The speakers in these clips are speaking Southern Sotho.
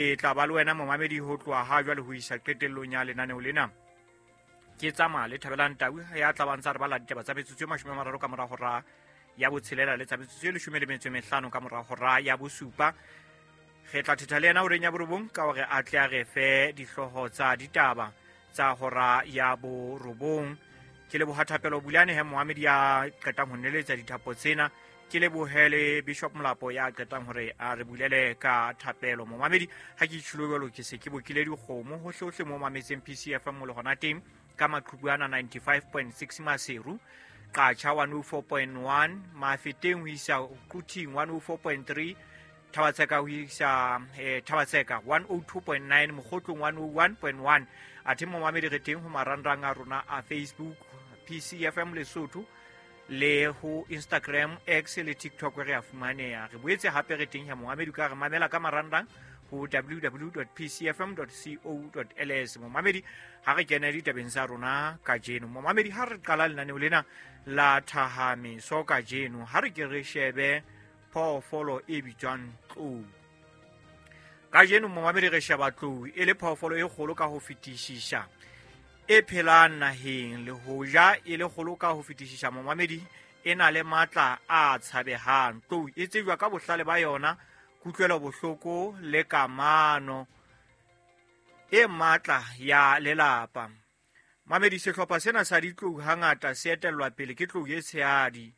E tla ba le wena momamedi ho tloha ha jwale ho isa qetellong ya lenaneo lena. Ke tsamaya le Thabelang Tau ya tla bang tsa re bala ditaba tsa metsotso e 30 ka mora hora ya botshelela le tsa metsotso e 15 ka mora hora ya bosupa. Re tla thetha le yena horeng ya borobong ka hore a tle a re fe dihlooho tsa ditaba tsa hora ya borobong. Ke leboha Thapelo Bulane he moamedi ya qetang ho neletsa dithapo tsena. Ke lebohe le Bishop Molapo ya qetang hore a re bulele ka thapelo. Momamedi, ha ke itjhilo jwalo ke se ke bokile dikgomo hohlehohle mo mametseng PCFM mo le hona teng ka maqhubu ana 95.6 Maseru, Qacha 104.1, Mafeteng ho isa Quthing 104.3, Thabatseka ho isa Thabatseka 102.9, Mokgotlong 101.1. Athe momamedi re teng ho marangrang a rona a Facebook PCFM Lesotho le ho Instagram, X le TikTok re a fumaneha. Re boetse hape re teng ya momamedi ka re mamela ka marangrang ho www.pcfm.co.ls. Momamedi, ha re kene ditabeng tsa rona kajeno. Momamedi, ha re qala lenaneo lena la Thahameso kajeno, ha re ke re shebe phoofolo e bitswang tlou. Kajeno momamedi re sheba tlou e le phoofolo e kgolo ka ho fetisisa e phelang naheng. Le hoja e le kgolo ka ho fetisisa momamedi, e na le matla a tshabehang. Tlou e tsejwa ka bohlale ba yona, kutlwelo bohloko le kamano e matla ya lelapa. Mamedi, sehlopha sena sa ditlou hangata se etellwa pele ke tlou e tshehadi,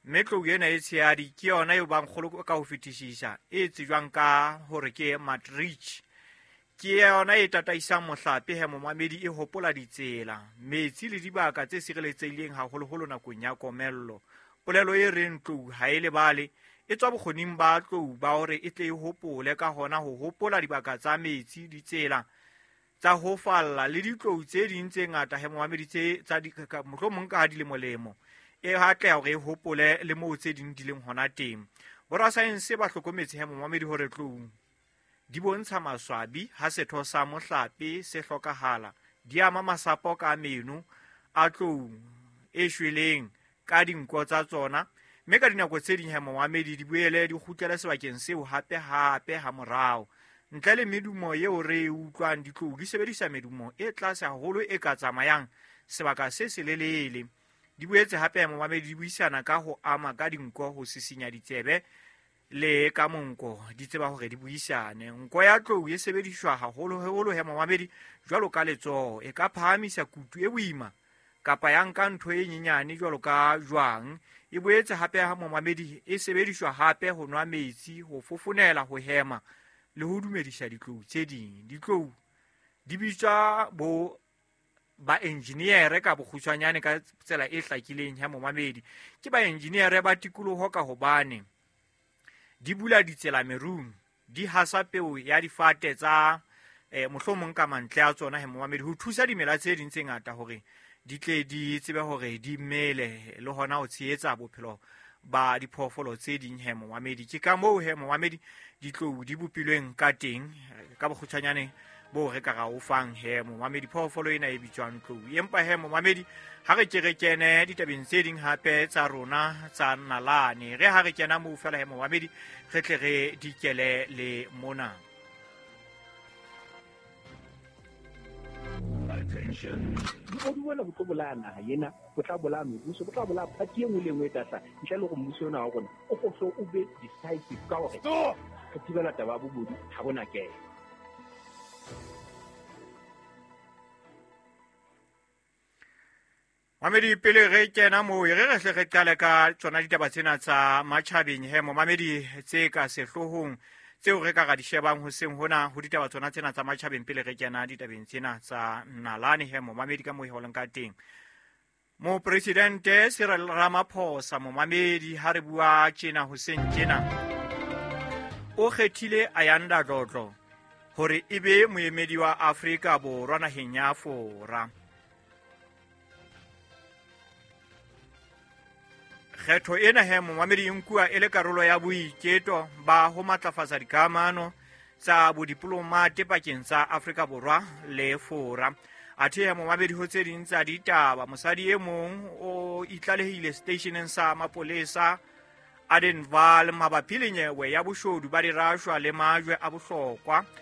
mme tlou ena e tshehadi ke yona eo bang kgolo ka ho fetisisa, e tsejwang ka hore ke matrich. Ke yona e tataisang mohlape he momamedi, e hopola ditsela, metsi le dibaka tse sireletsehileng haholoholo nakong ya komello. Polelo e reng tlou ha e lebale e tswa bokgoning ba tlou ba hore e tle e hopole, ka hona ho hopola dibaka tsa metsi, ditsela tsa ho falla le ditlou tse ding tse ngata he momamedi tse tsa mohlomong ka ha di le molemo, e hatleha hore e hopole le moo tse ding di leng hona teng. Borasaense ba hlokometse he momamedi hore tlou di bontsha maswabi ha setho sa mohlape se hlokahala, di ama masapo ka meno a tlou e shweleng ka dinko tsa tsona, mme ka dinako tse ding he momamedi di boele di kgutlele sebakeng seo hape hape ha morao. Ntle le medumo eo re e utlwang, ditlou di sebedisa medumo e tlase haholo e ka tsamayang sebaka se selelele. Di boetse hape momamedi di buisana ka ho ama ka dinko, ho sisinya ditsebe le ka monko, di tseba hore di buisane. Nko ya tlou e sebediswa haholoholo he momamedi jwalo ka letsoho, e ka phahamisa kutu e boima kapa ya nka ntho e nyenyane jwalo ka jwang. E boetse hape ha momamedi e sebediswa hape ho nwa metsi, ho fofonela, ho hema le ho dumedisa ditlou tse ding. Ditlou di bitswa bo ba engineer ka bokgutshwanyane ka tsela e hlakileng ya momamedi. Ke ba engineer ba tikoloho ka hobane di bula ditsela merung, di hasa peo ya difate tsa mohlomong ka mantle a tsona he momamedi, ho thusa dimela tse ding tse ngata hore di tle di tsebe hore di mele le hona ho tshehetsa bophelo ba diphoofolo tse ding he momamedi. Ke ka moo he momamedi ditlou di bopilweng ka teng ka bokgutshwanyane bo re ka ra o fang he momamedi phoofolo ena e bitswang tlou. Empa he momamedi, ha re ke re kene ditabeng tse ding hape tsa rona tsa nalane, re ha re kena moo fela he momamedi re tle re dikele le mona. Attention. Bobodu bona bo tlo bolaya naha ena, bo tla bolaya mebuso, bo tla bolaya party e nngwe le e nngwe e tla hlaha. Ntle le hore mmuso ona wa rona o kgohle o be decisive ka hore re thibela taba ya bobodu, ha bona kelo. Mamedi, pele re kena moo, e re re hle re qale ka tsona ditaba tsena tsa matjhabeng he momamedi tse ka sehloohong tseo re ka ra di shebang hoseng hona ho ditaba tsona tsena tsa matjhabeng pele re kena ditabeng tsena tsa nalane he momamedi ka moo e holeng ka teng. Mopresidente Cyril Ramaphosa momamedi ha re bua tjena hoseng tjena o kgethile Ayanda Dlodlo hore e be moemedi wa Afrika Borwa naheng ya Fora. Kgetho ena he momamedi e nkuwa e le karolo ya boiketo ba ho matlafatsa dikamano tsa bodiplomate pakeng tsa Afrika Borwa le Fora. Athe he momamedi ho tse ding tsa ditaba, mosadi e mong o itlalehile seteisheneng sa mapolesa Adenval mabapi le nyewe ya boshodu ba dirashwa le majwe a bohlokwa.